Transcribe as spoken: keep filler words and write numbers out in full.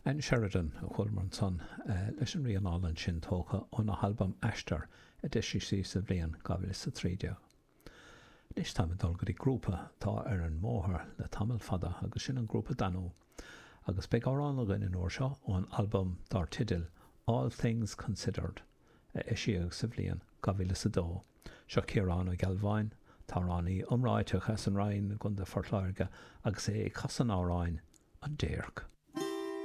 Ann Sheridan a chualamar ansan leis an rian álainn sin tógtha óna halbam Aistear a d'eisigh sí sa bhliain dhá mhíle is a trí déag. Anois táim ag dul go dtí grúpa atá ar an mbóthar le tamall fada agus sin an grúpa Danú agus beidh amhrán againn an uair seo ón albam dar teideal All Things Considered a eisíodh sa bhliain dhá mhíle is a dó. Seo Ciarán Ó Gealbháin, t-amhránaí iomráiteach as an Rinn i gContae Phort Láirge agus é ag casadh an amhráin An Déirc.